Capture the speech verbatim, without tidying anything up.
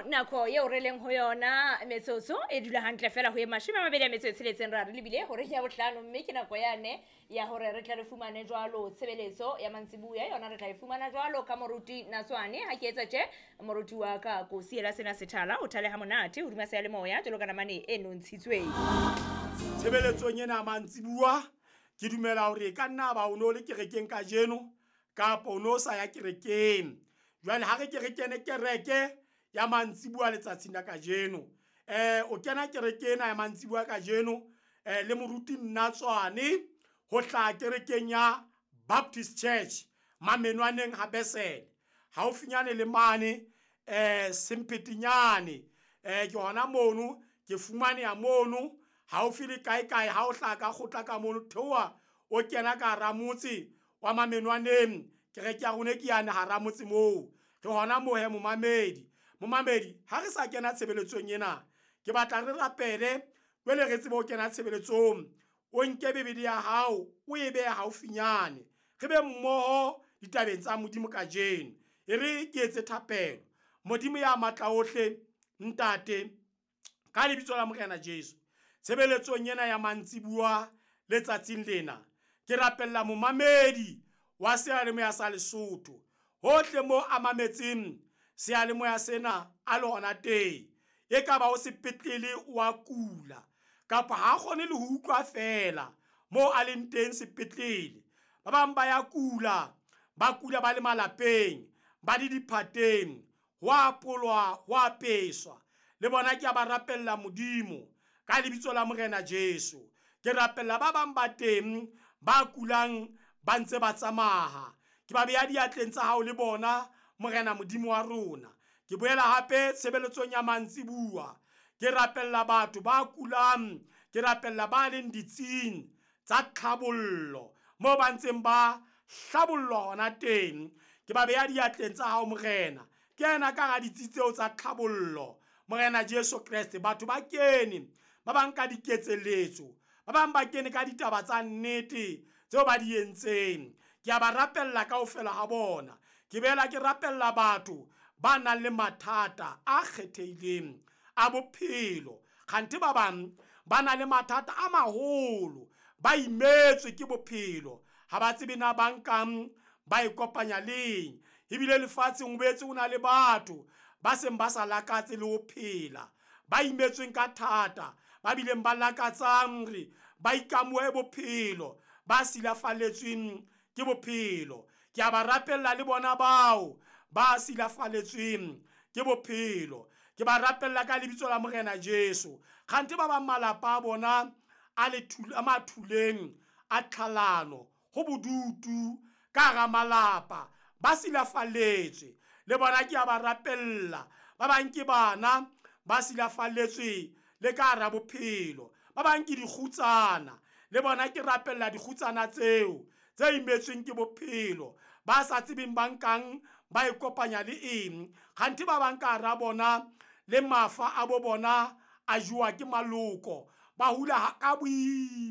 Jwalo nako eo re leng ho yona metsotso e dula hantle fela ho e mashome a mabedi a metso e tsheletseng ra re lebile horeng ya bohlano, mme ke nako yane ya hore re tle re fumane jwalo tshebeletso ya mantsibuya. Yona re tla e fumana jwalo ka moruti Natswane. Ha ke etsa tje, moruti wa ka ko siela sena sethala o thale ha monate hodima seyalemoya jwalo ka namane e nontshitsweng. Tshebeletsong ena ya mantsibuya ke dumela hore e ka nna ba o no le kerekeng kajeno kapa o no sa ya kerekeng. Jwale ha re ke re kene kereke ya mantsibuya letsatsing la kajeno. Eh o kena kereke ena ya mantsibuya kajeno eh le moruti Natswane ho hlaha kerekeng ya Baptist Church Mamenwaneng ha Besele. Haufinyane le mane eh Semphetinyane eh ke hona mono ke fumaneha mono haufi le kae kae ha o hlaha ka kgotla ka mono theoha o kena ka hara motse wa Mamenwaneng. Kereke ya rona ke yane hara motse moo. Re hona moo he momamedi. Momamedi ha re sa kena tshebeletsong ena ke batla re rapele jwale re tsebe ho kena tshebeletsong. O nke Bibele ya hao o e behe haufinyane re be mmoho ditabeng tsa Modimo kajeno. E re ke etse thapelo. Modimo ya matla ohle Ntate, ka lebitso la Morena Jesu, tshebeletsong ena ya mantsibuya letsatsing lena ke rapella momamedi wa seyalemoya sa Lesotho hohle mo a mametseng seyalemoya sena a le hona teng. E ka ba o sepetlele wa kula kapa ha kgone le ho utlwa fela mo a leng teng sepetlele. Ba bang ba ya kula, ba kula ba le malapeng, ba le diphateng, ho apolwa, ho apeswa. Le bona ke a ba rapella Modimo ka lebitso la Morena Jesu. Ke rapella ba bang ba teng ba kulang ba ntse ba tsamaya. Ke ba beha diatleng tsa hao le bona Morena Modimo wa rona. Ke boela hape tshebeletsong ya mantsibuya ke rapella batho ba kulang, ke rapella ba leng ditsing tsa tlhabollo moo ba ntseng ba hlabollwa hona teng. Ke ba beha diatleng tsa hao Morena. Ke ena ka hara ditsi tseo tsa tlhabollo Morena Jesu Kreste. Batho ba kene ba bang ka diketseletso, ba bang ba kene ka ditaba tsa nnete tseo ba di entseng. Ke a ba rapella kaofela ha bona. Ke boela ke rapella batho ba nang le mathata a kgethehileng a bophelo. Kganthe ba bang ba na le mathata a maholo, ba imetswe ke bophelo, ha ba tsebe na ba nkang ba ikopanya leng. Ebile lefatsheng ho boetse ho na le batho ba seng ba sa lakatse le ho phela, ba imetsweng ka thata, ba bileng ba lakatsang hore ba ikamohe bophelo, ba silafalletsweng ke bophelo. Ke a ba rapella le bona bao ba silafalletsweng ke bophelo. Ke ba rapella ka lebitso la Morena Jesu. Kganthe ba bang malapa a bona a le a mathuleng a tlhalano, ho bodutu ka hara malapa, ba silafalletswe. Le bona ke a ba rapella. Ba bang ke bana ba silafalletswe le ka hara bophelo, ba bang ke dikgutsana. Le bona ke rapella dikgutsana tseo tse imetsweng ke bophelo, ba sa tsebeng ba nkang ba ikopanya le eng. Kganthe ba bang ka hara bona le mafa a bo bona a jowa ke maloko, ba hula ka boima.